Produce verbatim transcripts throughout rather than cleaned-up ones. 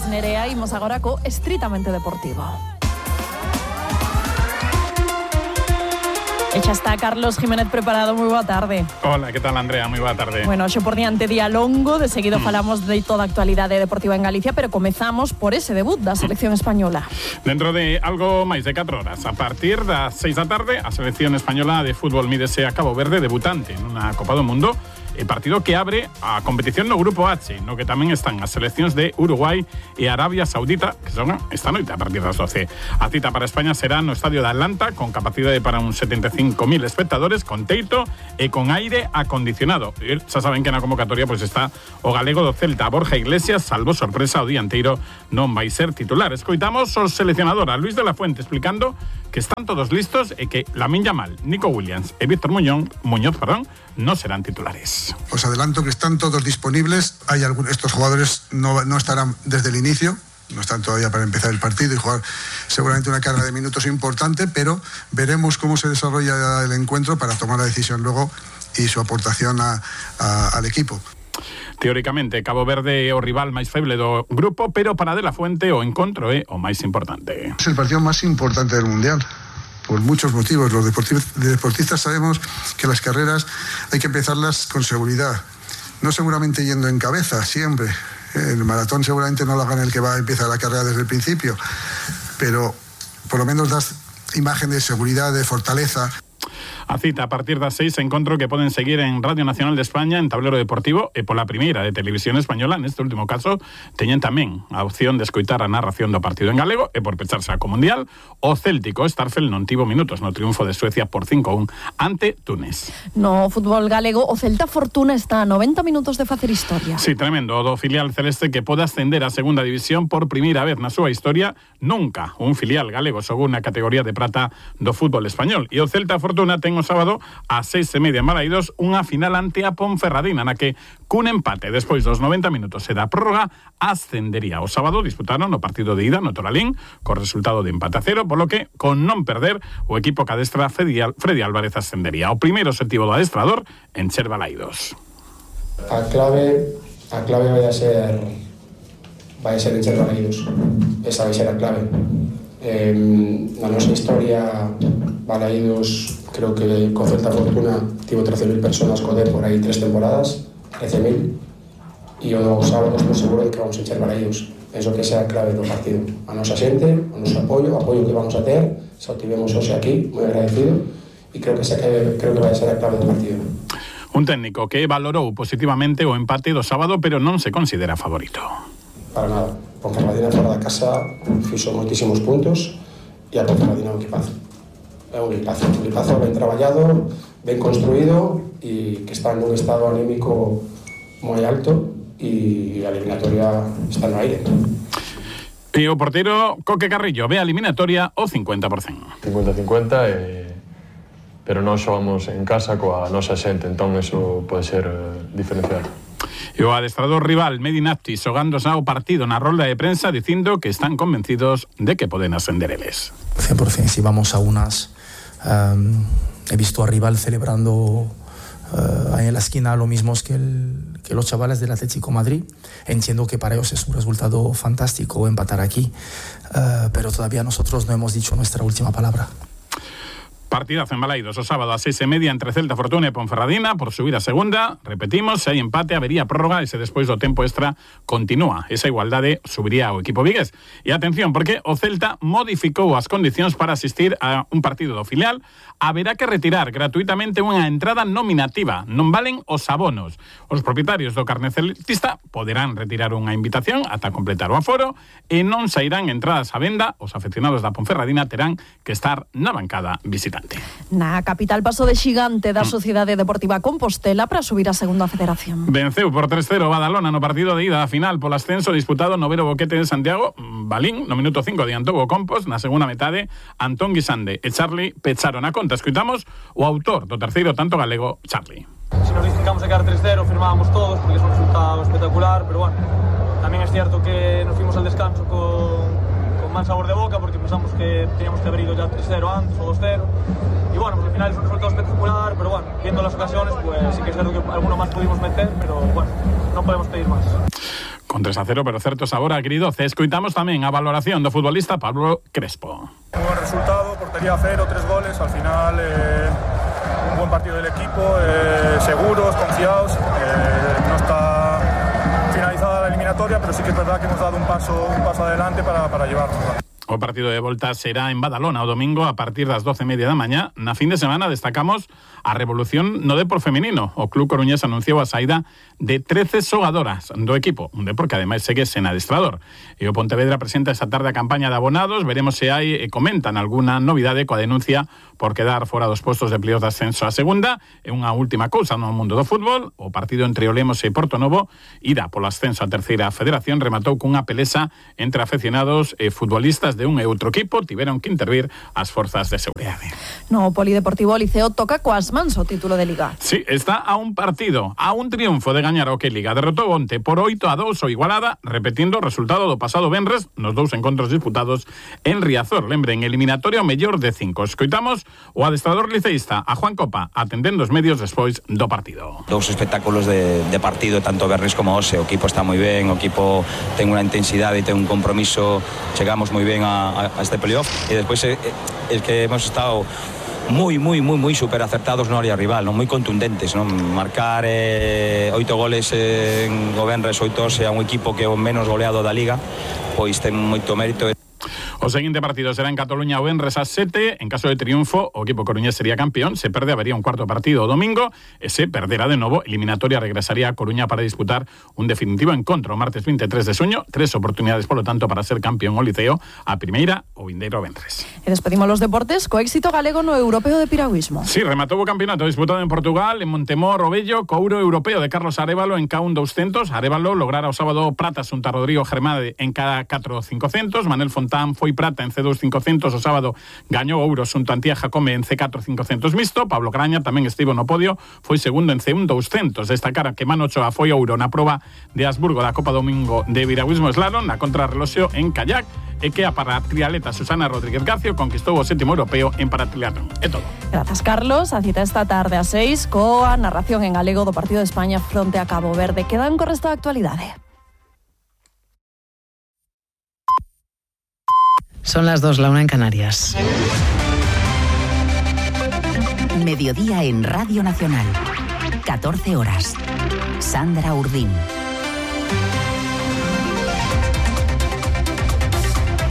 Nerea, imos agora co Estritamente Deportivo. E xa está Carlos Jiménez preparado, moi boa tarde. Hola, que tal, Andrea? Moi boa tarde. Bueno, xe por diante día longo, de seguido mm. falamos de toda a actualidade deportiva en Galicia, pero comezamos por ese debut da selección española. Dentro de algo máis de catro horas, a partir das seis da tarde, a selección española de fútbol mídese a Cabo Verde debutante nunha Copa do Mundo, e partido que abre a competición no Grupo H, no que tamén están as seleccións de Uruguai e Arabia Saudita, que son esta noite a partir das doce. A cita para España será no estadio de Atlanta, con capacidade para uns setenta e cinco mil espectadores, con teito e con aire acondicionado. E xa saben que na convocatoria pois está o galego do Celta, Borja Iglesias, salvo sorpresa o dianteiro non vai ser titular. Escoitamos o seleccionador a Luis de la Fuente explicando que están todos listos e que Lamine Yamal, Nico Williams e Víctor Muñoz, Muñoz perdón, no serán titulares. Os adelanto que están todos disponibles. Hay algunos, estos jugadores no, no estarán desde el inicio, no están todavía para empezar el partido y jugar seguramente una carga de minutos importante, pero veremos cómo se desarrolla el encuentro para tomar la decisión luego y su aportación a, a, al equipo. Teóricamente, Cabo Verde é o rival máis feble do grupo, pero para De la Fuente o encontro é o máis importante. Es el partido más importante del Mundial, por muchos motivos. Los deportistas sabemos que las carreras hay que empezarlas con seguridad, no seguramente yendo en cabeza siempre. El maratón seguramente no lo haga el que va a empezar la carrera desde el principio, pero por lo menos das imagen de seguridad, de fortaleza. A cita a partir das seis, encontro que poden seguir en Radio Nacional de España, en Tablero Deportivo e pola primeira de Televisión Española. Neste último caso teñen tamén a opción de escoitar a narración do partido en galego e por pecharse a co Mundial, o céltico Starfel non tivo minutos no triunfo de Suecia por cinco a un ante Túnez. No fútbol galego, o Celta Fortuna está a noventa minutos de facer historia. Sí, tremendo, o do filial celeste que pode ascender a segunda división por primeira vez na súa historia. Nunca un filial galego xogou na categoría de prata do fútbol español. E o Celta Fortuna ten o sábado a seis e media en Balaídos unha final ante a Ponferradina, na que cun empate despois dos noventa minutos e da prórroga ascendería. O sábado disputaron o partido de ida no Toralín co resultado de empate a cero, polo que con non perder o equipo que adestra Freddy, Freddy Álvarez ascendería. O primeiro objetivo do adestrador en ser Balaídos. A clave a clave vai a ser vai a ser en ser Balaídos. Esa vai ser a clave. Eh, na nosa historia Balaídos, creo que con Celta Fortuna tivo trece mil personas co D por aí tres temporadas, trece mil, e o sábado estou seguro de que vamos a encher Balaídos. Penso que esa é a clave do partido. A nosa xente, o noso apoio, o apoio que vamos a ter, xa o tivemos hoxe aquí, moi agradecido, e creo que, esa, creo que vai ser a clave do partido. Un técnico que valorou positivamente o empate do sábado, pero non se considera favorito. Para nada. Ponferradina fora da casa fixo moitísimos puntos e a Ponferradina é un equipazo. É un equipazo, un equipazo ben traballado, ben construído e que está nun estado anímico moi alto e a eliminatoria está no aire. E o porteiro Coque Carrillo ve a eliminatoria o cincuenta por cento. cincuenta cincuenta, eh, pero non xogamos en casa coa nosa xente, entón eso pode ser eh, diferencial. E o adestrador rival Medinati xogándose ao partido na rolda de prensa dicindo que están convencidos de que poden ascender eles. cien por ciento, si vamos a unas... Um, he visto a rival celebrando uh, ahí en la esquina lo mismo que, el, que los chavales del Atlético Madrid. Entiendo que para ellos es un resultado fantástico empatar aquí, uh, pero todavía nosotros no hemos dicho nuestra última palabra. Partidazo en Balaídos o sábado a seis e media entre Celta Fortuna e Ponferradina por subir a segunda. Repetimos, se hai empate habería prórroga e se despois do tempo extra continúa esa igualdade, subiría o equipo vigués. E atención, porque o Celta modificou as condicións para asistir a un partido do filial. Haberá que retirar gratuitamente unha entrada nominativa, non valen os abonos. Os propietarios do carné celtista poderán retirar unha invitación ata completar o aforo e non sairán entradas a venda. Os afeccionados da Ponferradina terán que estar na bancada visitante. Na capital paso de xigante da Sociedade Deportiva Compostela para subir a segunda federación. Venceu por tres cero Badalona no partido de ida da final polo ascenso disputado no Vero Boquete de Santiago. Balín no minuto cinco adiantou o Compos, na segunda metade Antón Guisande e Charlie pecharon a conta. Escuitamos o autor do terceiro tanto galego, Charlie. Si nos dicen que vamos a quedar tres cero, firmábamos todos porque es un resultado espectacular, pero bueno, también es cierto que nos fuimos al descanso con mal sabor de boca porque pensamos que teníamos que haber ido ya tres cero antes o dos cero y bueno, pues al final es un resultado espectacular, pero bueno, viendo las ocasiones pues sí que es cierto que alguno más pudimos meter, pero bueno, no podemos pedir más. con tres a cero, pero certo sabor agridoce. Escoitamos tamén a valoración do futbolista Pablo Crespo. Un buen resultado, portería cero, tres goles, al final eh, un buen partido del equipo, eh, seguros, confiados, eh, no está finalizada la eliminatoria, pero sí que es verdad que hemos dado un paso, un paso adelante para, para llevarnos. O partido de volta será en Badalona o domingo a partir das doce e media da mañá. Na fin de semana destacamos a revolución no Depor femenino. O Club Coruñés anunciou a saída de trece xogadoras do equipo, un Depor que ademais segue sen adestrador. E o Pontevedra presenta esta tarde a campaña de abonados. Veremos se hai e comentan alguna novidade coa denuncia por quedar fora dos postos de playoff de ascenso a segunda. E unha última cousa no mundo do fútbol, o partido entre o Lemos e Portonovo ida polo ascenso a terceira federación rematou cunha pelesa entre aficionados e futbolistas de un e outro equipo. Tiveron que intervir as forzas de seguridade. No Polideportivo Liceo toca coas mans o título de Liga. Sí, está a un partido, a un triunfo de gañar o que Liga. Derrotou onte por oito a dous o Igualada, repetindo o resultado do pasado venres nos dous encontros disputados en Riazor. Lembren, eliminatorio mellor de cinco. Escoitamos o adestrador liceísta, a Juan Copa, atendendo os medios despois do partido. Dous espectáculos de, de partido, tanto Berres como Ose. O equipo está moi ben, o equipo ten unha intensidade e ten un compromiso. Chegamos moi ben a, a este playoff e despois é, é que hemos estado moi, moi, moi, moi super acertados no área rival, non moi contundentes, non? Marcar eh, oito goles en o Benres, oito Ose a un equipo que é o menos goleado da Liga, pois ten moito mérito. O seguinte partido será en Cataluña o venres ás sete. En caso de triunfo, o equipo coruñés sería campeón. Se perde, habería un cuarto partido o domingo. E se perderá de novo, eliminatoria regresaría a Coruña para disputar un definitivo encontro o martes veintitrés de xuño. Tres oportunidades, polo tanto, para ser campeón o Liceo a primeira o vindeiro venres. E despedimos los deportes co éxito galego no Europeo de Piragüismo. Sí, rematou o campeonato disputado en Portugal, en Montemor, o Bello, co ouro europeo de Carlos Arévalo en K un doscientos. Arévalo lograra o sábado prata xunto a Rodrigo Germade en K catro cincocentos. Manel Fontán foi prata en C dos cincocentos o sábado, gañou ouro xunto a Antía Jacome en C catro cincocentos mixto. Pablo Graña tamén estivo no podio, foi segundo en C un doscientos. Destacar que Mano Ochoa foi ouro na proba de Habsburgo da Copa Domingo de Piragüismo Slalom, na contrarreloxio en kayak, e que a paratrialeta Susana Rodríguez Gacio conquistou o sétimo europeo en paratriatlón. É todo. Grazas, Carlos. A cita esta tarde a seis coa narración en galego do partido de España fronte a Cabo Verde. Quedan co resto da actualidade. Son las dos, la una en Canarias. Mediodía en Radio Nacional. catorce horas. Sandra Urdín.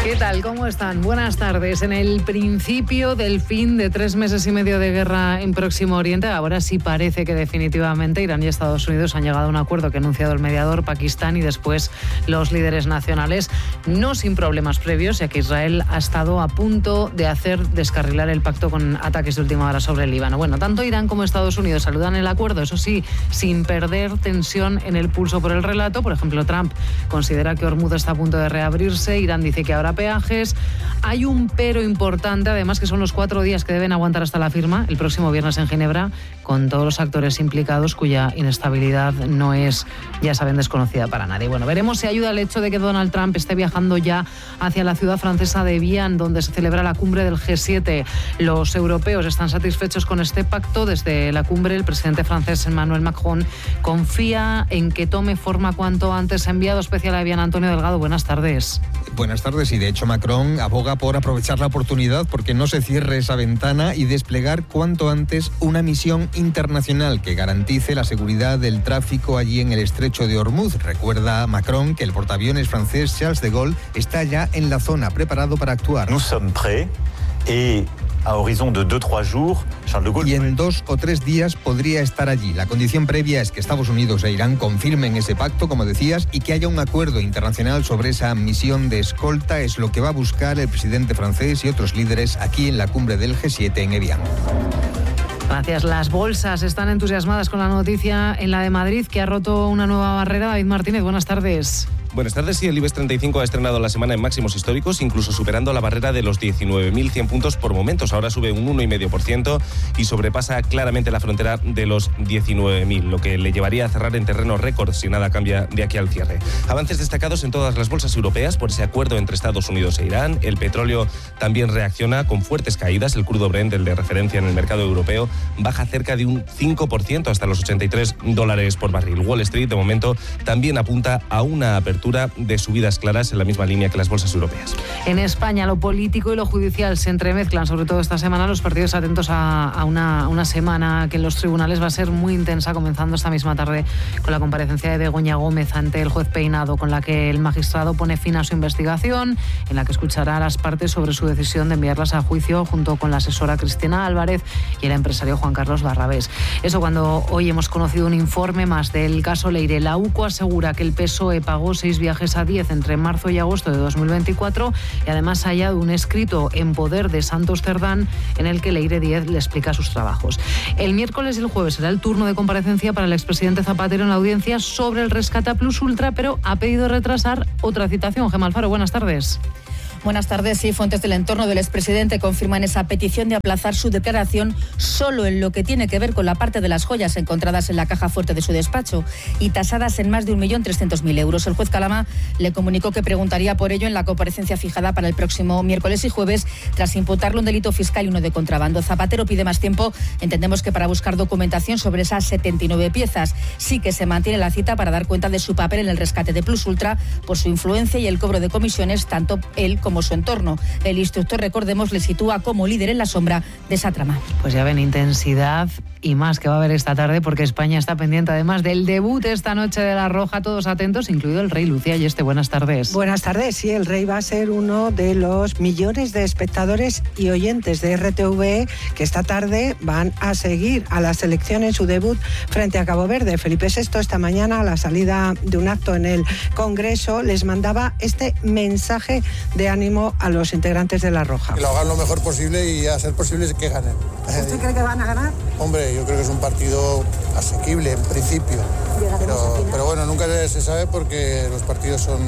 ¿Qué tal? ¿Cómo están? Buenas tardes. En el principio del fin de tres meses y medio de guerra en Próximo Oriente, ahora sí parece que definitivamente Irán y Estados Unidos han llegado a un acuerdo que ha anunciado el mediador Pakistán y después los líderes nacionales, no sin problemas previos, ya que Israel ha estado a punto de hacer descarrilar el pacto con ataques de última hora sobre el Líbano. Bueno, tanto Irán como Estados Unidos saludan el acuerdo, eso sí, sin perder tensión en el pulso por el relato. Por ejemplo, Trump considera que Hormuz está a punto de reabrirse, Irán dice que ahora peajes. Hay un pero importante, además, que son los cuatro días que deben aguantar hasta la firma, el próximo viernes en Ginebra, con todos los actores implicados cuya inestabilidad no es, ya saben, desconocida para nadie. Bueno, veremos si ayuda el hecho de que Donald Trump esté viajando ya hacia la ciudad francesa de Vienne, donde se celebra la cumbre del G siete. Los europeos están satisfechos con este pacto. Desde la cumbre, el presidente francés Emmanuel Macron confía en que tome forma cuanto antes. Enviado especial a Vienne, Antonio Delgado, buenas tardes. Buenas tardes, y de hecho Macron aboga por aprovechar la oportunidad porque no se cierre esa ventana y desplegar cuanto antes una misión internacional que garantice la seguridad del tráfico allí en el estrecho de Hormuz. Recuerda Macron que el portaaviones francés Charles de Gaulle está ya en la zona, preparado para actuar. Nous sommes prêts et a horizon de dos tres jours, Charles de Gaulle... Y en dos o tres días podría estar allí. La condición previa es que Estados Unidos e Irán confirmen ese pacto, como decías, y que haya un acuerdo internacional sobre esa misión de escolta. Es lo que va a buscar el presidente francés y otros líderes aquí en la cumbre del G siete en Evian. Gracias. Las bolsas están entusiasmadas con la noticia en la de Madrid, que ha roto una nueva barrera. David Martínez, buenas tardes. Buenas tardes. Sí, el IBEX treinta y cinco ha estrenado la semana en máximos históricos, incluso superando la barrera de los diecinueve mil cien puntos por momentos. Ahora sube un uno coma cinco por ciento y sobrepasa claramente la frontera de los diecinueve mil, lo que le llevaría a cerrar en terreno récord si nada cambia de aquí al cierre. Avances destacados en todas las bolsas europeas por ese acuerdo entre Estados Unidos e Irán. El petróleo también reacciona con fuertes caídas. El crudo Brent, el de referencia en el mercado europeo, baja cerca de un cinco por ciento hasta los ochenta y tres dólares por barril. Wall Street, de momento, también apunta a una apertura de subidas claras en la misma línea que las bolsas europeas. En España, lo político y lo judicial se entremezclan, sobre todo esta semana. Los partidos atentos a, a una, una semana que en los tribunales va a ser muy intensa, comenzando esta misma tarde con la comparecencia de Begoña Gómez ante el juez Peinado, con la que el magistrado pone fin a su investigación, en la que escuchará a las partes sobre su decisión de enviarlas a juicio junto con la asesora Cristina Álvarez y el empresario Juan Carlos Barrabés. Eso cuando hoy hemos conocido un informe más del caso Leire. La U C O asegura que el P S O E pagó seis viajes a diez entre marzo y agosto de dos mil veinticuatro y además ha hallado un escrito en poder de Santos Cerdán en el que Leire Díez le explica sus trabajos. El miércoles y el jueves será el turno de comparecencia para el expresidente Zapatero en la audiencia sobre el rescate a Plus Ultra, pero ha pedido retrasar otra citación. Gemma Alfaro, buenas tardes. Buenas tardes. Sí, fuentes del entorno del expresidente confirman esa petición de aplazar su declaración solo en lo que tiene que ver con la parte de las joyas encontradas en la caja fuerte de su despacho y tasadas en más de un millón trescientos mil euros. El juez Calama le comunicó que preguntaría por ello en la comparecencia fijada para el próximo miércoles y jueves, tras imputarle un delito fiscal y uno de contrabando. Zapatero pide más tiempo, entendemos que para buscar documentación sobre esas setenta y nueve piezas. Sí que se mantiene la cita para dar cuenta de su papel en el rescate de Plus Ultra por su influencia y el cobro de comisiones, tanto él como su entorno. El instructor, recordemos, le sitúa como líder en la sombra de esa trama. Pues ya ven, intensidad y más que va a haber esta tarde, porque España está pendiente además del debut esta noche de La Roja. Todos atentos, incluido el rey. Lucía Yeste, buenas tardes. Buenas tardes. Sí, el rey va a ser uno de los millones de espectadores y oyentes de R T V E que esta tarde van a seguir a la selección en su debut frente a Cabo Verde. Felipe sexto esta mañana, a la salida de un acto en el Congreso, les mandaba este mensaje de ánimo a los integrantes de La Roja. Que lo hagan lo mejor posible y a ser posible que ganen. ¿Usted cree que van a ganar? Hombre, yo creo que es un partido asequible en principio. Pero, pero bueno, nunca se sabe porque los partidos son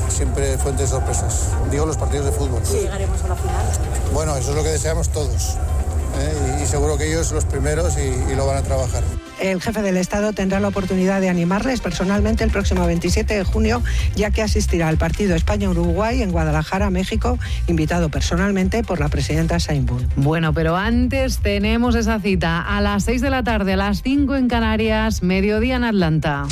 siempre fuentes de sorpresas. Digo los partidos de fútbol. Sí, llegaremos a la final. Bueno, eso es lo que deseamos todos. ¿eh? Y, y seguro que ellos los primeros y, y lo van a trabajar. El jefe del Estado tendrá la oportunidad de animarles personalmente el próximo veintisiete de junio, ya que asistirá al partido España-Uruguay en Guadalajara, México, invitado personalmente por la presidenta Sheinbaum. Bueno, pero antes tenemos esa cita a las seis de la tarde, a las cinco en Canarias, mediodía en Atlanta.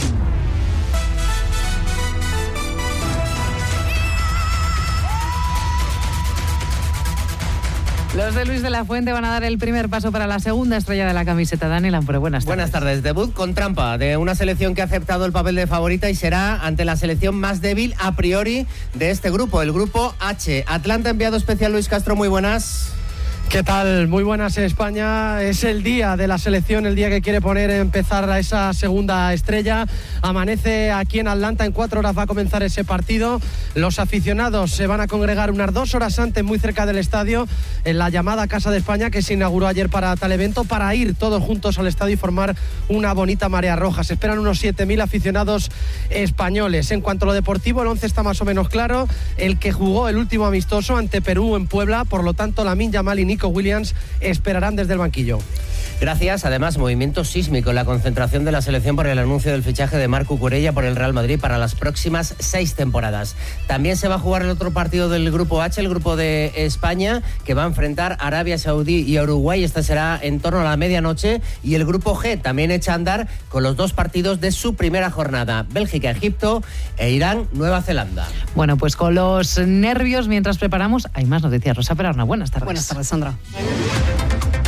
Los de Luis de la Fuente van a dar el primer paso para la segunda estrella de la camiseta. Dani Lampre, buenas tardes. Buenas tardes. Debut con trampa de una selección que ha aceptado el papel de favorita y será ante la selección más débil a priori de este grupo, el grupo H. Atlanta, enviado especial Luis Castro, muy buenas. ¿Qué tal? Muy buenas, España. Es el día de la selección, el día que quiere poner empezar a esa segunda estrella. Amanece aquí en Atlanta, en cuatro horas va a comenzar ese partido. Los aficionados se van a congregar unas dos horas antes, muy cerca del estadio, en la llamada Casa de España, que se inauguró ayer para tal evento, para ir todos juntos al estadio y formar una bonita marea roja. Se esperan unos siete mil aficionados españoles. En cuanto a lo deportivo, el once está más o menos claro. El que jugó el último amistoso ante Perú en Puebla, por lo tanto, Lamine Yamal y Nico Williams esperarán desde el banquillo. Gracias. Además, movimiento sísmico en la concentración de la selección por el anuncio del fichaje de Marco Cucurella por el Real Madrid para las próximas seis temporadas. También se va a jugar el otro partido del grupo H, el grupo de España, que va a enfrentar a Arabia Saudí y a Uruguay. Este será en torno a la medianoche. Y el grupo G también echa a andar con los dos partidos de su primera jornada: Bélgica, Egipto e Irán, Nueva Zelanda. Bueno, pues con los nervios mientras preparamos, hay más noticias. Rosa Perarna, buenas tardes. Buenas tardes, Sandra.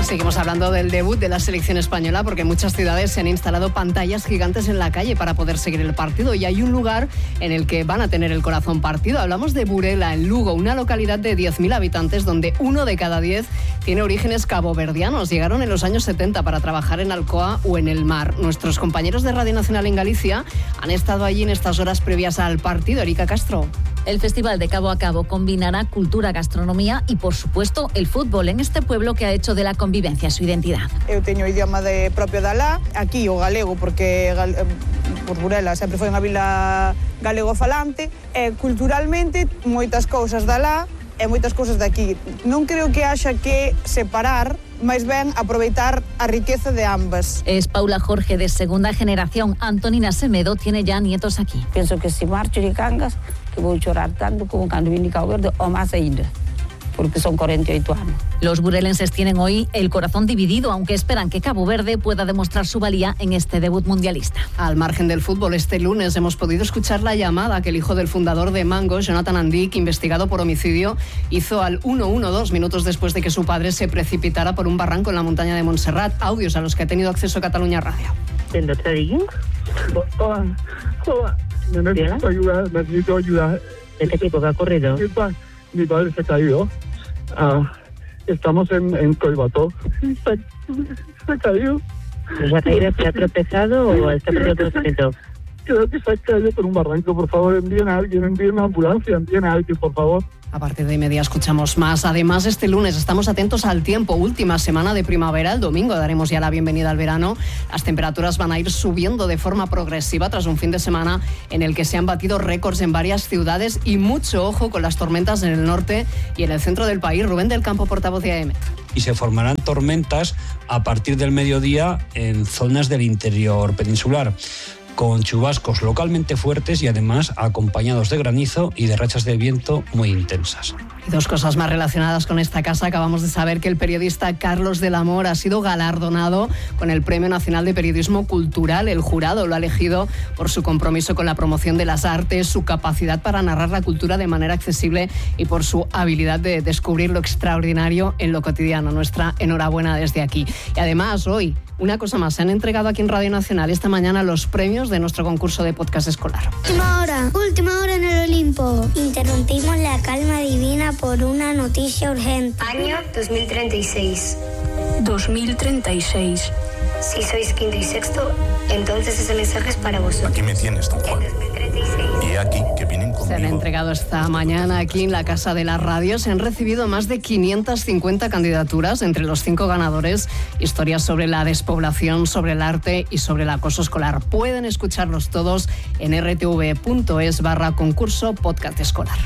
Seguimos hablando del debut de la selección española porque en muchas ciudades se han instalado pantallas gigantes en la calle para poder seguir el partido y hay un lugar en el que van a tener el corazón partido. Hablamos de Burela, en Lugo, una localidad de diez mil habitantes donde uno de cada diez tiene orígenes caboverdianos. Llegaron en los años setenta para trabajar en Alcoa o en el mar. Nuestros compañeros de Radio Nacional en Galicia han estado allí en estas horas previas al partido. Erika Castro. El Festival de Cabo a Cabo combinará cultura, gastronomía y, por supuesto, el fútbol en este pueblo que ha hecho de la convivencia su identidad. Eu teño o idioma de propio da lá, aquí o galego, porque por Burela sempre foi unha vila galego falante, e culturalmente moitas cousas da lá e moitas cousas de aquí. Non creo que haxa que separar, máis ben aproveitar a riqueza de ambas. Es Paula Jorge, de segunda generación. Antonina Semedo tiene ya nietos aquí. Penso que se marcho de Cangas, que vou chorar tanto como cando vine a Cabo Verde, o máis ainda, porque son cuarenta y ocho años. Los burelenses tienen hoy el corazón dividido, aunque esperan que Cabo Verde pueda demostrar su valía en este debut mundialista. Al margen del fútbol, este lunes hemos podido escuchar la llamada que el hijo del fundador de Mango, Jonathan Andic, investigado por homicidio, hizo al uno uno dos minutos después de que su padre se precipitara por un barranco en la montaña de Montserrat. Audios a los que ha tenido acceso Cataluña Radio. Necesito ayuda, necesito ayuda. ¿De qué tipo? ¿Qué ha ocurrido? Mi, pa, mi padre se ha caído. Uh, estamos en, en Coibató. Se, se ha caído. ¿Se ha caído? ¿Se ha tropezado o está perdiendo conocimiento? Creo que se ha caído por un barranco. Por favor, envíen a alguien, envíen una ambulancia, envíen a alguien, por favor. A partir de media escuchamos más. Además, este lunes estamos atentos al tiempo. Última semana de primavera. El domingo daremos ya la bienvenida al verano. Las temperaturas van a ir subiendo de forma progresiva tras un fin de semana en el que se han batido récords en varias ciudades, y mucho ojo con las tormentas en el norte y en el centro del país. Rubén del Campo, portavoz de A E M E T. Y se formarán tormentas a partir del mediodía en zonas del interior peninsular, con chubascos localmente fuertes y además acompañados de granizo y de rachas de viento muy intensas. Y dos cosas más relacionadas con esta casa. Acabamos de saber que el periodista Carlos del Amor ha sido galardonado con el Premio Nacional de Periodismo Cultural. El jurado lo ha elegido por su compromiso con la promoción de las artes, su capacidad para narrar la cultura de manera accesible y por su habilidad de descubrir lo extraordinario en lo cotidiano. Nuestra enhorabuena desde aquí. Y además, hoy, una cosa más, se han entregado aquí en Radio Nacional esta mañana los premios de nuestro concurso de podcast escolar. Última hora, última hora en el Olimpo. Interrumpimos la calma divina por una noticia urgente. Año dos mil treinta y seis. dos mil treinta y seis. Si sois quinto y sexto, entonces ese mensaje es para vosotros. Aquí me tienes, don Juan. Y aquí, que vienen conmigo. Se han entregado esta mañana aquí en la Casa de la Radio. Se han recibido más de quinientas cincuenta candidaturas. Entre los cinco ganadores, historias sobre la despoblación, sobre el arte y sobre el acoso escolar. Pueden escucharlos todos en r t v punto es barra concurso podcast escolar.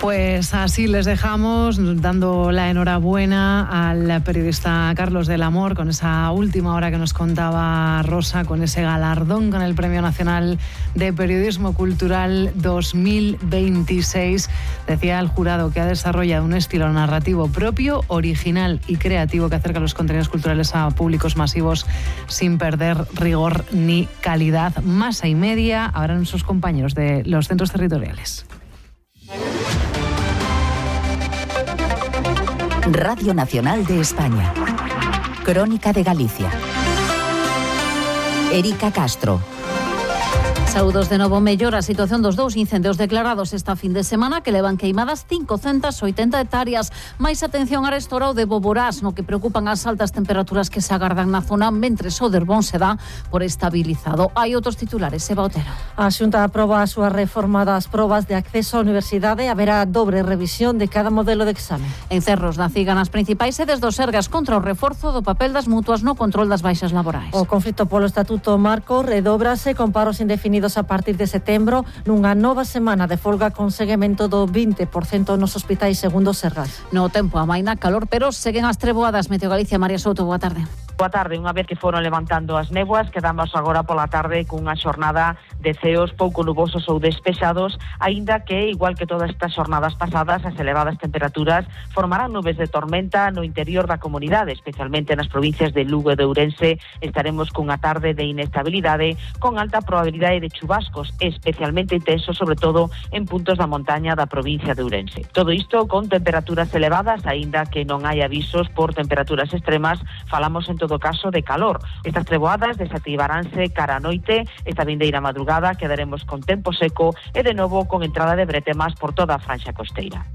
Pues así les dejamos, dando la enhorabuena al periodista Carlos del Amor con esa última hora que nos contaba Rosa, con ese galardón con el Premio Nacional de Periodismo Cultural dos mil veintiséis. Decía el jurado que ha desarrollado un estilo narrativo propio, original y creativo que acerca los contenidos culturales a públicos masivos sin perder rigor ni calidad. Masa y media habrán nuestros compañeros de los centros territoriales. Radio Nacional de España. Crónica de Galicia. Erika Castro. Saúdos de novo. Mellora a situación dos dous incendios declarados esta fin de semana que levan queimadas cincocentas oitenta hectáreas. Máis atención a restaurado de Boborás, no que preocupan as altas temperaturas que se agardan na zona, mentres o Derbón se dá por estabilizado. Hai outros titulares. Eva Otero. A Xunta aproba a súa reforma das probas de acceso á universidade. Haberá dobre revisión de cada modelo de exame. En Cerros da Ciga, nas principais sedes do Sergas, contra o reforzo do papel das mutuas no control das baixas laborais. O conflito polo Estatuto Marco redóbrase con paros indefinidos a partir de setembro, nunha nova semana de folga con seguimento do vinte por cento nos hospitais, segundo Sergas. No tempo amaina calor, pero seguen as treboadas. Meteo Galicia, María Souto, boa tarde. Boa tarde. Unha vez que foron levantando as néboas, quedamos agora pola tarde cunha xornada de ceos pouco nubosos ou despexados, aínda que, igual que todas estas xornadas pasadas, as elevadas temperaturas formarán nubes de tormenta no interior da comunidade, especialmente nas provincias de Lugo e de Ourense. Estaremos cunha tarde de inestabilidade con alta probabilidade de chubascos, especialmente intensos, sobre todo en puntos da montaña da provincia de Ourense. Todo isto con temperaturas elevadas, aínda que non hai avisos por temperaturas extremas. Falamos en todo caso de calor. Estas treboadas desactivaránse cara a noite. Esta vindeira madrugada quedaremos con tempo seco e de novo con entrada de bretemas por toda a franxa costeira.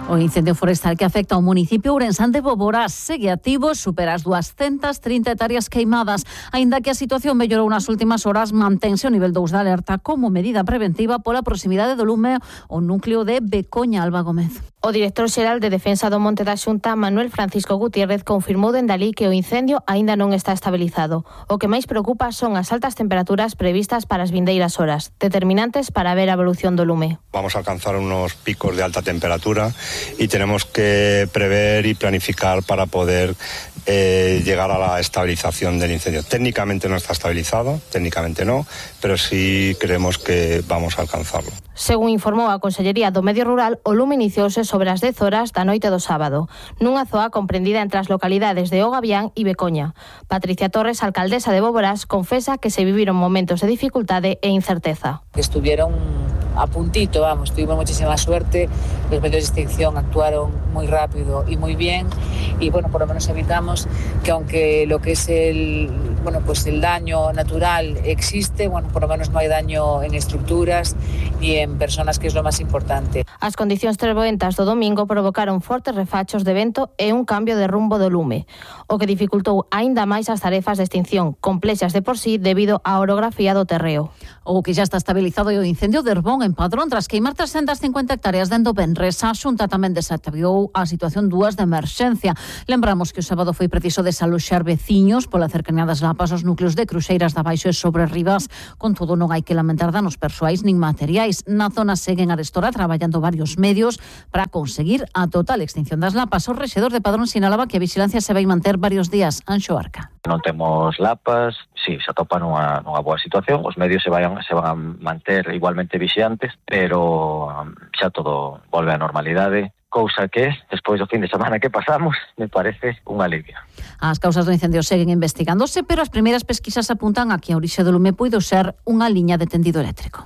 O O incendio forestal que afecta ao municipio ourensán de Boborás segue activo, supera as doscientas trinta hectáreas queimadas. Aínda que a situación mellorou nas últimas horas, mantense o nivel dous de alerta como medida preventiva pola proximidade do lume o núcleo de Becoña. Alba Gómez. O director xeral de Defensa do Monte da Xunta, Manuel Francisco Gutiérrez, confirmou dende alí que o incendio aínda non está estabilizado. O que máis preocupa son as altas temperaturas previstas para as vindeiras horas, determinantes para ver a evolución do lume. Vamos a alcanzar unos picos de alta temperatura y tenemos que prever y planificar para poder eh, llegar a la estabilización del incendio. Técnicamente no está estabilizado, técnicamente no, pero sí creemos que vamos a alcanzarlo. Según informou a Consellería do Medio Rural, o lume iniciouse sobre as dez horas da noite do sábado, nunha zoa comprendida entre as localidades de O Gavián e Becoña. Patricia Torres, alcaldesa de Boborás, confesa que se viviron momentos de dificultade e incerteza. Estuvieron a puntito, vamos, tuvimos muchísima suerte, los medios de extinción actuaron muy rápido y muy bien y bueno, por lo menos evitamos que aunque lo que es el, bueno, pues el daño natural existe, bueno, por lo menos no hay daño en estructuras ni en personas, que es lo más importante. As condicións treboentas do domingo provocaron fortes refachos de vento e un cambio de rumbo do lume, o que dificultou aínda máis as tarefas de extinción, complexas de por sí debido á orografía do terreo. O que xa está estabilizado é o incendio de Herbón en Padrón, tras queimar trescentas cincuenta hectáreas dende o Benres. A Xunta tamén desactivou a situación dúas de emerxencia. Lembramos que o sábado foi preciso desaloxar veciños pola cercanía das Lapas aos núcleos de Cruxeiras da Baixo e sobre Rivas. Con todo, non hai que lamentar danos persoais nin materiais. Na zona seguen arestora traballando varios medios para conseguir a total extinción das lapas. O rexedor de Padrón sinalaba que a vigilancia se vai manter varios días. Anxo Arca. Non temos lapas, si, sí, se atopa nunha, nunha boa situación, os medios se, vayan, se van a manter igualmente vixiantes, pero um, xa todo volve á normalidade, cousa que, despois do fin de semana que pasamos, me parece un alivio. As causas do incendio seguen investigándose, pero as primeiras pesquisas apuntan a que a orixe do lume puido ser unha liña de tendido eléctrico.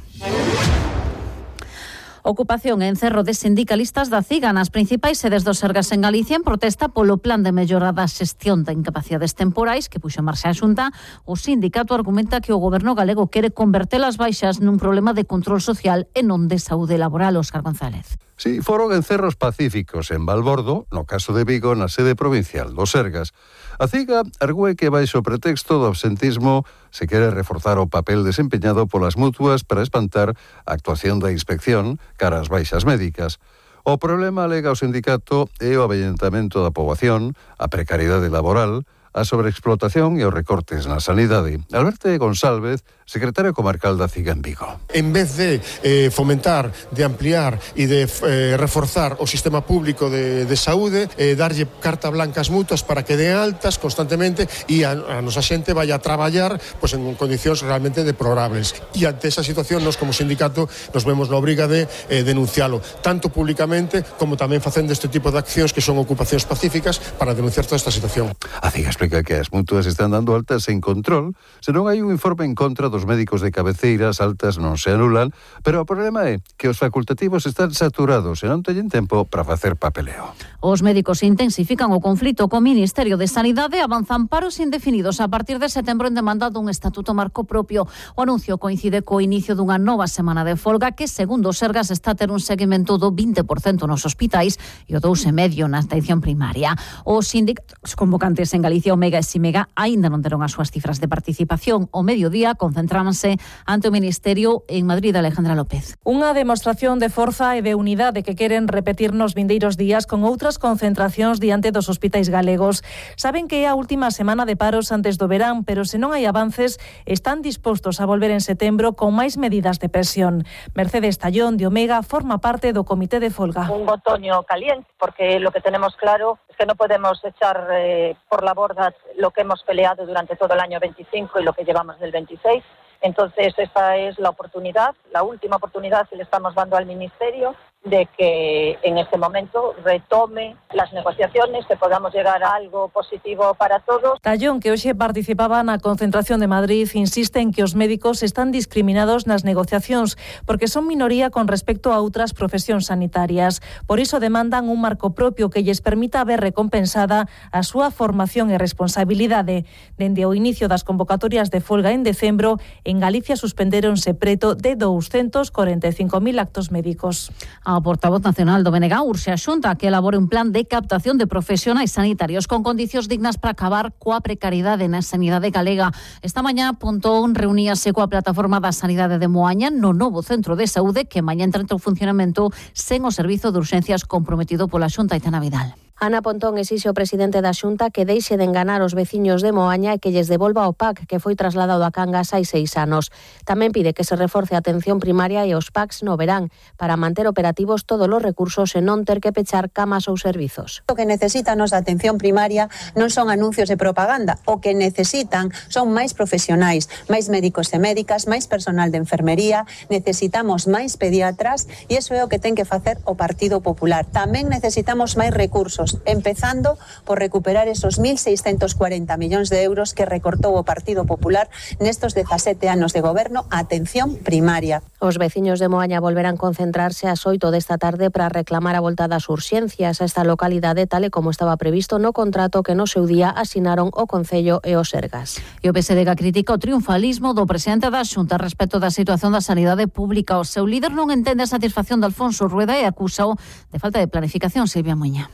Ocupación e encerro de sindicalistas da CIGA nas principais sedes do Sergas en Galicia en protesta polo plan de mellora da xestión de incapacidades temporais que puxo en marcha a Xunta. O sindicato argumenta que o goberno galego quere converter as baixas nun problema de control social e non de saúde laboral. Óscar González. Sí, foron encerros pacíficos en Valbordo, no caso de Vigo, na sede provincial do Sergas. A CIGA argüe que baixo pretexto do absentismo se quere reforzar o papel desempeñado polas mutuas para espantar a actuación da inspección cara ás baixas médicas. O problema, alega o sindicato, é o avellentamento da poboación, a precariedade laboral, a sobreexplotación e os recortes na sanidade. Alberto González, secretario comarcal da CIGA en Vigo. En vez de eh, fomentar, de ampliar e de eh, reforzar o sistema público de, de saúde, eh, darlle carta blanca ás mutuas para que den altas constantemente e a, a nosa xente vaya a traballar pues, en condicións realmente deplorables. E ante esa situación, nos como sindicato nos vemos na obriga de eh, denuncialo, tanto públicamente como tamén facendo este tipo de accións que son ocupacións pacíficas para denunciar toda esta situación. A CIGA explica que as mutuas están dando altas sen control, se non hai un informe en contra dos médicos de cabeceira, as altas non se anulan, pero o problema é que os facultativos están saturados e non teñen tempo para facer papeleo. Os médicos intensifican o conflito co Ministerio de Sanidade, avanzan paros indefinidos a partir de setembro en demanda dun estatuto marco propio. O anuncio coincide co inicio dunha nova semana de folga que, segundo o Sergas, está a ter un seguimento do vinte por cento nos hospitais e o dous por cento na atención primaria. Os sindicatos convocantes en Galicia, Omega e Simega, aínda non deron as súas cifras de participación. O mediodía concentrábanse ante o Ministerio en Madrid. Alejandra López. Unha demostración de forza e de unidade que queren repetir nos vindeiros días con outras concentracións diante dos hospitais galegos. Saben que é a última semana de paros antes do verán, pero se non hai avances, están dispostos a volver en setembro con máis medidas de presión. Mercedes Tallón, de Omega, forma parte do comité de folga. Un otoño caliente, porque lo que tenemos claro es que no podemos echar eh, por la borda lo que hemos peleado durante todo el año veinticinco y lo que llevamos del veintiséis. Entonces, esta es la oportunidad, la última oportunidad que le estamos dando al Ministerio de que en este momento retome las negociaciones, que podamos llegar a algo positivo para todos. Tallón, que hoxe participaba na concentración de Madrid, insiste en que os médicos están discriminados nas negociacións porque son minoría con respecto a outras profesións sanitarias. Por iso demandan un marco propio que lles permita ver recompensada a súa formación e responsabilidade. Dende o inicio das convocatorias de folga en decembro, En Galicia suspendéronse preto de doscientos cuarenta y cinco mil actos médicos. A portavoz nacional do B N G urxe a Xunta que elabore un plan de captación de profesionais sanitarios con condicións dignas para acabar coa precariedade na sanidade galega. Esta mañá Pontón reuníase coa plataforma da sanidade de Moaña no novo centro de saúde que mañá entra en funcionamento sen o servizo de urxencias comprometido pola Xunta. Itana Vidal. Ana Pontón exixe ao presidente da Xunta que deixe de enganar os veciños de Moaña e que lles devolva o P A C que foi trasladado a Cangas hai seis anos. Tamén pide que se reforce a atención primaria e os P A Cs no verán para manter operativos todos os recursos e non ter que pechar camas ou servizos. O que necesita a nosa atención primaria non son anuncios de propaganda, o que necesitan son máis profesionais, máis médicos e médicas, máis personal de enfermería, necesitamos máis pediatras e iso é o que ten que facer o Partido Popular. Tamén necesitamos máis recursos, empezando por recuperar esos mil seiscentos cuarenta millóns de euros que recortou o Partido Popular nestos dezasete anos de goberno a atención primaria. Os veciños de Moaña volverán concentrarse ás oito desta tarde para reclamar a volta das urxencias a esta localidade tal e como estaba previsto no contrato que no seu día asinaron o Concello e os Sergas. E o P S D G critica o triunfalismo do presidente da Xunta respecto da situación da sanidade pública. O seu líder non entende a satisfacción de Alfonso Rueda e acúsao de falta de planificación. Silvia Muña.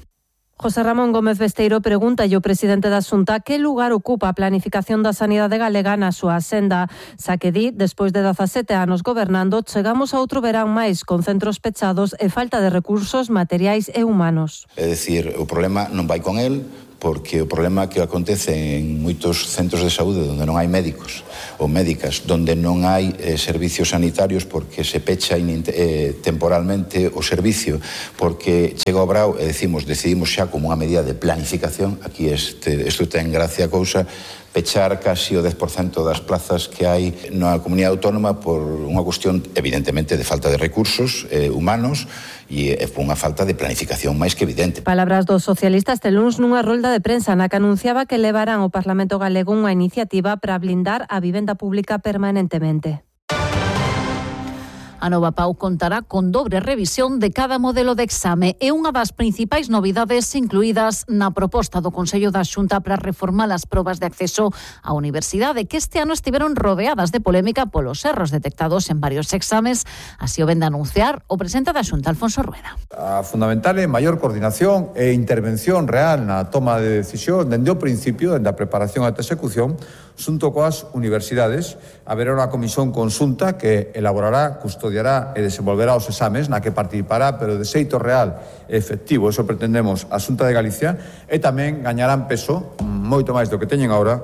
José Ramón Gómez Besteiro pregunta ao presidente da Xunta que lugar ocupa a planificación da sanidade galega na súa senda. Xa que di, despois de dezasete anos gobernando, chegamos a outro verán máis con centros pechados e falta de recursos materiais e humanos. É dicir, o problema non vai con el, porque o problema que acontece en moitos centros de saúde onde non hai médicos ou médicas, onde non hai eh, servicios sanitarios porque se pecha eh, temporalmente o servicio, porque chega o brao e decimos, decidimos xa como unha medida de planificación, aquí este, isto ten gracia a cousa, pechar casi o dez por cento das plazas que hai na comunidade autónoma por unha cuestión evidentemente de falta de recursos eh, humanos e é unha falta de planificación máis que evidente. Palabras dos socialistas este luns nunha rolda de prensa na que anunciaba que levarán ao Parlamento galego unha iniciativa para blindar a vivenda pública permanentemente. A nova P A U contará con dobre revisión de cada modelo de exame e unha das principais novidades incluídas na proposta do Consello da Xunta para reformar as probas de acceso á universidade, que este ano estiveron rodeadas de polémica polos erros detectados en varios exames. Así o ven de anunciar o presidente da Xunta, Alfonso Rueda. A fundamental é maior coordinación e intervención real na toma de decisión dende o principio, dende a preparación ata a execución, xunto coas universidades. Haberá unha comisión conxunta que elaborará, custodiará e desenvolverá os exames na que participará, pero de xeito real e efectivo, eso pretendemos a Xunta de Galicia, e tamén gañarán peso, moito máis do que teñen agora,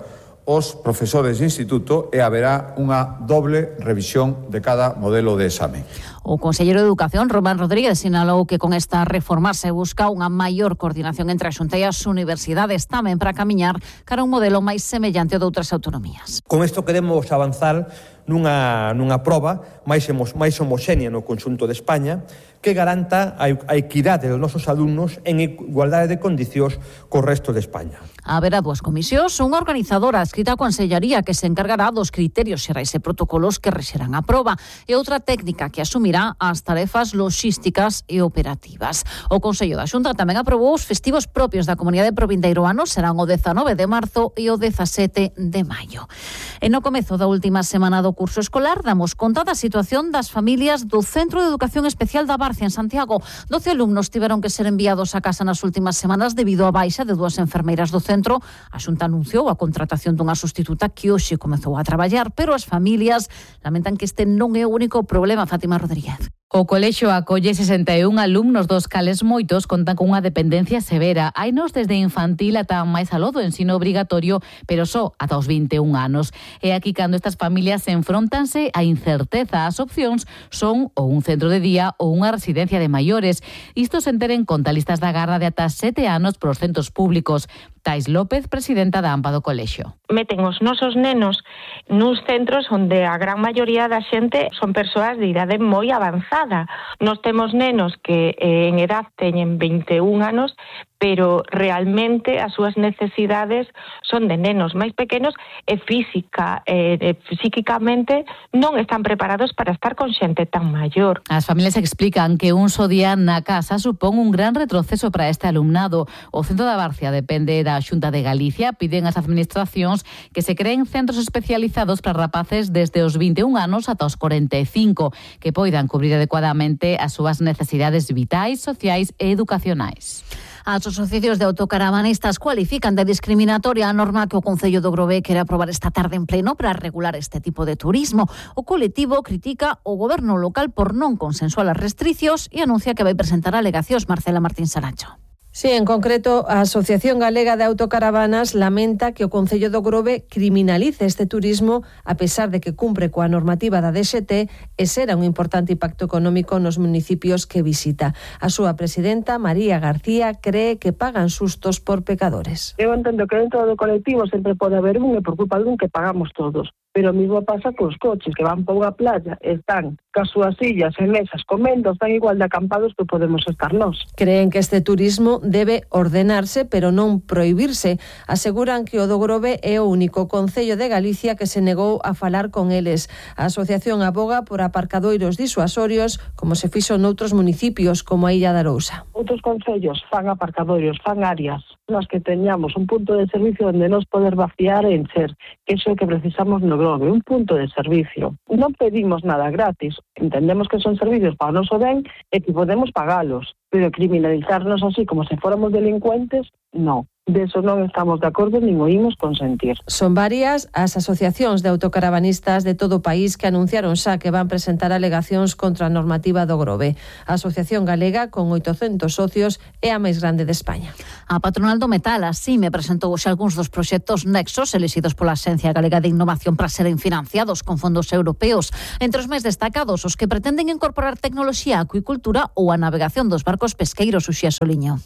os profesores de instituto e haberá unha doble revisión de cada modelo de exame. O conselleiro de Educación, Román Rodríguez, sinalou que con esta reforma se busca unha maior coordinación entre a Xunta e as universidades, tamén para camiñar cara a un modelo máis semellante ao de outras autonomías. Con isto queremos avanzar nunha, nunha proba máis, máis homoxénea no conxunto de España que garanta a equidade dos nosos alumnos en igualdade de condicións co resto de España. Haberá dúas comisións, unha organizadora adscrita á Consellería que se encargará dos criterios xerais e protocolos que rexerán a proba e outra técnica que asumirá as tarefas logísticas e operativas. O Consello da Xunta tamén aprobou os festivos propios da Comunidade Provindeiroana, serán o dezanove de marzo e o dezasete de maio. E no comezo da última semana do curso escolar damos conta da situación das familias do Centro de Educación Especial da Barcia en Santiago. doce alumnos tiveron que ser enviados a casa nas últimas semanas debido á baixa de dúas enfermeiras do centro. A Xunta anunciou a contratación dunha sustituta que hoxe comezou a traballar, pero as familias lamentan que este non é o único problema. Fátima Rodríguez. O colexio acolle sesenta e un alumnos, dos cales moitos contan con unha dependencia severa. Hainos desde infantil ata máis aló do ensino obrigatorio, pero só ata os vinte e un anos. E aquí cando estas familias se enfrontanse a incerteza, as opcións son ou un centro de día ou unha residencia de maiores. Isto se enteren con listas da garda de ata sete anos pros centros públicos. Tais López, presidenta da AMPA do colexio. Meten os nosos nenos nuns centros onde a gran maioría da xente son persoas de idade moi avanzada. Nos temos nenos que eh, en edad teñen vinte e un anos, pero realmente as súas necesidades son de nenos máis pequenos e física e, e psíquicamente non están preparados para estar con xente tan maior. As familias explican que un só día na casa supón un gran retroceso para este alumnado. O Centro da Barcia depende da Xunta de Galicia. Piden ás administracións que se creen centros especializados para rapaces desde os vinte e un anos ata os corenta e cinco, que poidan cubrir adecuadamente as súas necesidades vitais, sociais e educacionais. As asociacións de autocaravanistas cualifican de discriminatoria a norma que o Concello do Grove quere aprobar esta tarde en pleno para regular este tipo de turismo. O colectivo critica o goberno local por non consensuar as restriccións e anuncia que vai presentar alegacións. Marcela Martín Saracho. Sí, en concreto, a Asociación Galega de Autocaravanas lamenta que o Concello do Grove criminalice este turismo a pesar de que cumpre coa normativa da D X T e será un importante impacto económico nos municipios que visita. A súa presidenta, María García, cree que pagan sustos por pecadores. Eu entendo que dentro do colectivo sempre pode haber un e por culpa dun que pagamos todos. Pero o mismo pasa cos coches que van para unha playa, están cas súas sillas e mesas comendo, están igual de acampados que podemos estar nós. Creen que este turismo debe ordenarse, pero non prohibirse. Aseguran que o do Grove é o único concello de Galicia que se negou a falar con eles. A asociación aboga por aparcadoiros disuasorios, como se fixo noutros municipios, como a Illa de Arousa. Outros concellos fan aparcadoiros, fan áreas nas que teñamos un punto de servicio onde nos poder vaciar e encher, que iso é o que precisamos no Grove, un punto de servicio. Non pedimos nada gratis, entendemos que son servicios para o noso ben e que podemos pagalos, pero criminalizarnos así como se fóramos delincuentes, non. De eso non estamos de acordo nin o imos consentir. Son varias as asociacións de autocaravanistas de todo o país que anunciaron xa que van presentar alegacións contra a normativa do Grove. A Asociación Galega, con oitocentos socios, é a máis grande de España. A patronal do metal así me presentou xa algúns dos proxectos nexos elixidos pola Axencia Galega de Innovación para seren financiados con fondos europeos. Entre os máis destacados, os que pretenden incorporar tecnoloxía, acuicultura ou a navegación dos barcos pesqueiros, Uxía Soliño.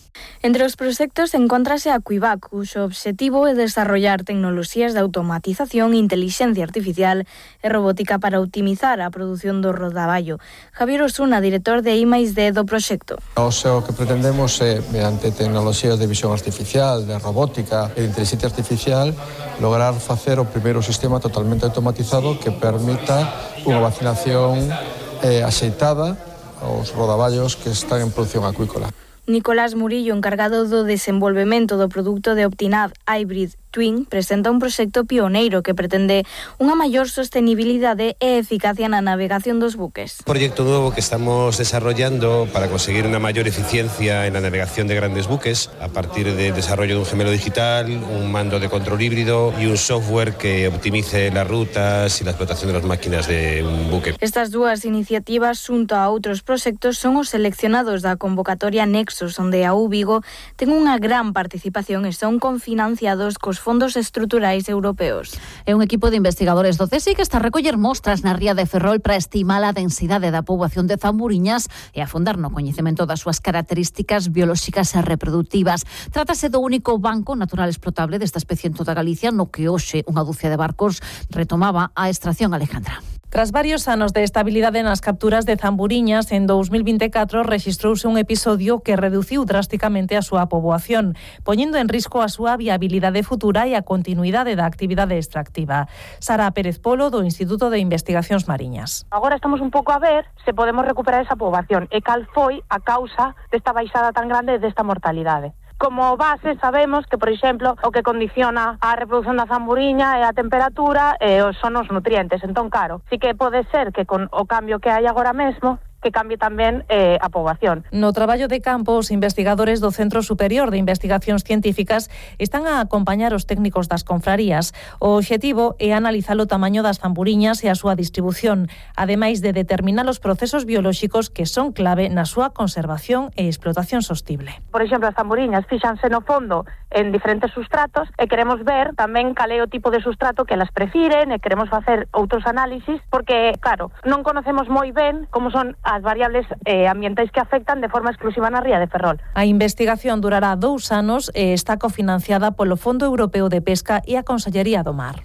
Entre os proxectos encontrase a Cuivac, cuxo obxectivo é desarrollar tecnoloxías de automatización, inteligencia artificial e robótica para optimizar a produción do rodaballo. Javier Osuna, director de I máis D do proxecto. O que pretendemos é, mediante tecnoloxías de visión artificial, de robótica e de inteligencia artificial, lograr facer o primeiro sistema totalmente automatizado que permita unha vacinación eh, axeitada aos rodaballos que están en produción acuícola. Nicolás Murillo, encargado do desenvolvemento do produto de Optinad Hybrid Twin, presenta un proxecto pioneiro que pretende unha maior sostenibilidade e eficacia na navegación dos buques. Un proyecto nuevo que estamos desarrollando para conseguir una mayor eficiencia en la navegación de grandes buques a partir del desarrollo de un gemelo digital, un mando de control híbrido y un software que optimice las rutas y la explotación de las máquinas de un buque. Estas dúas iniciativas, xunto a outros proxectos, son os seleccionados da convocatoria Nexos, onde a U Vigo ten unha gran participación e son confinanciados cos fondos estruturais europeos. É un equipo de investigadores do C S I que está a recoller mostras na ría de Ferrol para estimar a densidade da poboación de Zamburiñas e afondar no coñecemento das súas características biolóxicas e reproductivas. Trátase do único banco natural explotable desta especie en toda Galicia, no que hoxe unha dúcia de barcos retomaba a extracción. Alejandra. Tras varios anos de estabilidade nas capturas de Zamburiñas, en dos mil vinte e catro rexistrouse un episodio que reduciu drásticamente a súa poboación, poñendo en risco a súa viabilidade futura e a continuidade da actividade extractiva. Sara Pérez Polo, do Instituto de Investigacións Mariñas. Agora estamos un pouco a ver se podemos recuperar esa poboación e cal foi a causa desta baixada tan grande desta mortalidade. Como base sabemos que, por exemplo, o que condiciona a reproducción da zamburiña é a temperatura e son os nutrientes. Entón, claro, sí que pode ser que con o cambio que hai agora mesmo que cambie tamén eh, a poboación. No traballo de campo, os investigadores do Centro Superior de Investigacións Científicas están a acompañar os técnicos das confrarías. O obxectivo é analizar o tamaño das zamburiñas e a súa distribución, ademais de determinar os procesos biolóxicos que son clave na súa conservación e explotación sostible. Por exemplo, as zamburiñas fíxanse no fondo en diferentes sustratos e queremos ver tamén cal é o tipo de sustrato que elas prefiren e queremos facer outros análisis porque, claro, non conocemos moi ben como son as variables eh, ambientais que afectan de forma exclusiva na ría de Ferrol. A investigación durará dous anos e está cofinanciada polo Fondo Europeo de Pesca e a Consellería do Mar.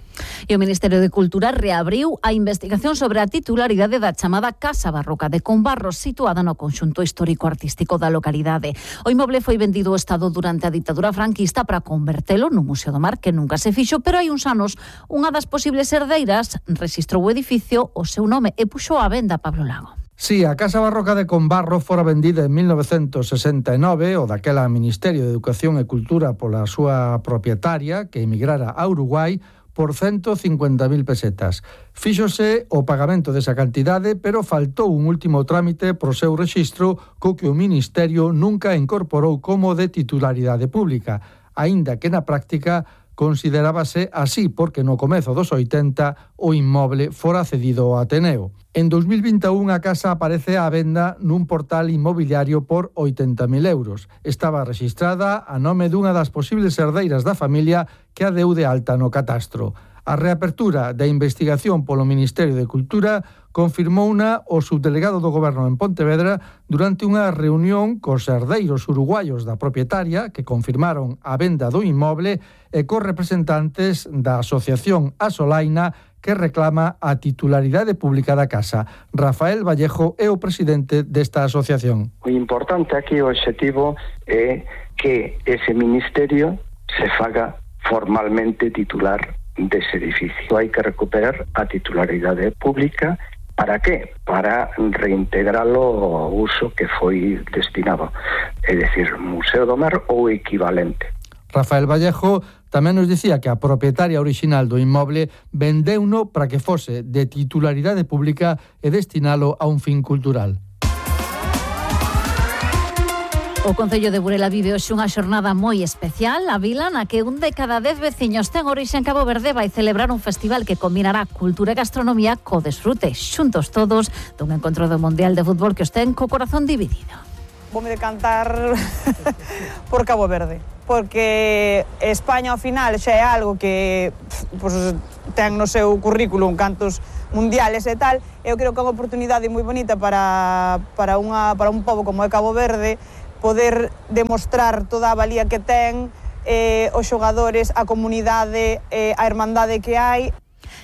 E o Ministerio de Cultura reabriu a investigación sobre a titularidade da chamada Casa Barroca de Combarro, situada no conxunto histórico-artístico da localidade. O inmoble foi vendido ao Estado durante a ditadura franquista para convertelo no Museo do Mar, que nunca se fixo, pero hai uns anos unha das posibles herdeiras rexistrou o edificio o seu nome e puxou á venda Pablo Lago. Sí, a Casa Barroca de Combarro fora vendida en mil novecentos sesenta e nove, o daquela Ministerio de Educación e Cultura pola súa propietaria, que emigrara a Uruguai, por ciento cincuenta mil pesetas. Fíxose o pagamento desa cantidade, pero faltou un último trámite pro seu rexistro co que o Ministerio nunca incorporou como de titularidade pública, aínda que na práctica considerábase así porque no comezo dos oitenta o inmoble fora cedido ao Ateneo. En dos mil vinte e un a casa aparece á venda nun portal inmobiliario por oitenta mil euros. Estaba rexistrada a nome dunha das posibles herdeiras da familia que a deu de alta no catastro. A reapertura da investigación polo Ministerio de Cultura confirmouna o subdelegado do Goberno en Pontevedra durante unha reunión cos herdeiros uruguaios da propietaria que confirmaron a venda do inmoble e cos representantes da Asociación Asolaina que reclama a titularidade pública da casa. Rafael Vallejo é o presidente desta asociación. O importante aquí, o objetivo é que ese ministerio se faga formalmente titular dese edificio. Hai que recuperar a titularidade pública. Para qué? Para reintegralo ao uso que foi destinado, é dicir, Museo do Mar ou equivalente. Rafael Vallejo tamén nos dicía que a propietaria original do inmoble vendeuno para que fose de titularidade pública e destinalo a un fin cultural. O Concello de Burela vive hoxe unha xornada moi especial. A vila na que un de cada dez veciños ten orixe en Cabo Verde vai celebrar un festival que combinará cultura e gastronomía co desfrute, xuntos todos, dun encontro do Mundial de Fútbol que os ten co corazón dividido. Voume decantar por Cabo Verde, porque España ao final xa é algo que pues, ten no seu currículum cantos mundiales e tal. Eu creo que é unha oportunidade moi bonita para, para, unha, para un pobo como é Cabo Verde poder demostrar toda a valía que ten, eh, os xogadores, a comunidade, eh, a hermandade que hai.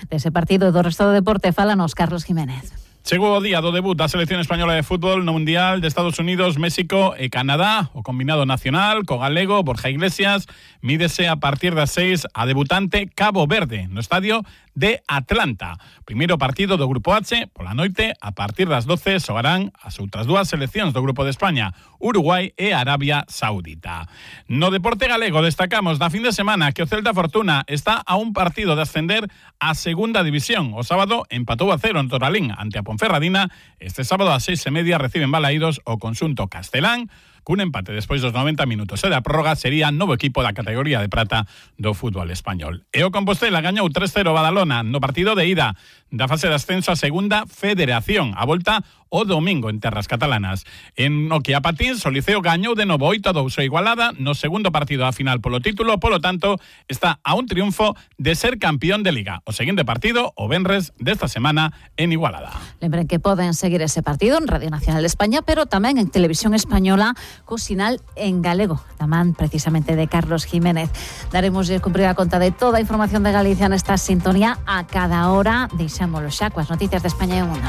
Dese partido e do resto do deporte fálanos Carlos Jiménez. Chegou o día do debut da selección española de fútbol no Mundial de Estados Unidos, México e Canadá. O combinado nacional, co galego Borja Iglesias, mídese a partir das seis a debutante Cabo Verde, no estadio de Atlanta. Primeiro partido do Grupo H, pola noite, a partir das doce, xogarán as outras dúas seleccións do Grupo de España, Uruguai e Arabia Saudita. No deporte galego destacamos da fin de semana que o Celta Fortuna está a un partido de ascender a segunda división. O sábado empatou a cero en Toralín ante a Ponferradina. Este sábado a seis e media reciben Balaídos o conxunto castelán. Cun empate despois dos noventa minutos e da prórroga sería novo equipo da categoría de prata do fútbol español. E o Compostela gañou tres cero Badalona no partido de ida da fase de ascenso a segunda federación. A volta o domingo en terras catalanas. En o que a Patins, o Liceo gañou de novo oito a dous a Igualada no segundo partido a final polo título, polo tanto, está a un triunfo de ser campeón de Liga. O seguinte partido, o venres desta semana en Igualada. Lembren que poden seguir ese partido en Radio Nacional de España, pero tamén en Televisión Española co sinal en galego, tamén precisamente de Carlos Jiménez. Daremos de cumprir a conta de toda a información de Galicia nesta sintonía a cada hora. Deixámoslo xa coas noticias de España e o mundo.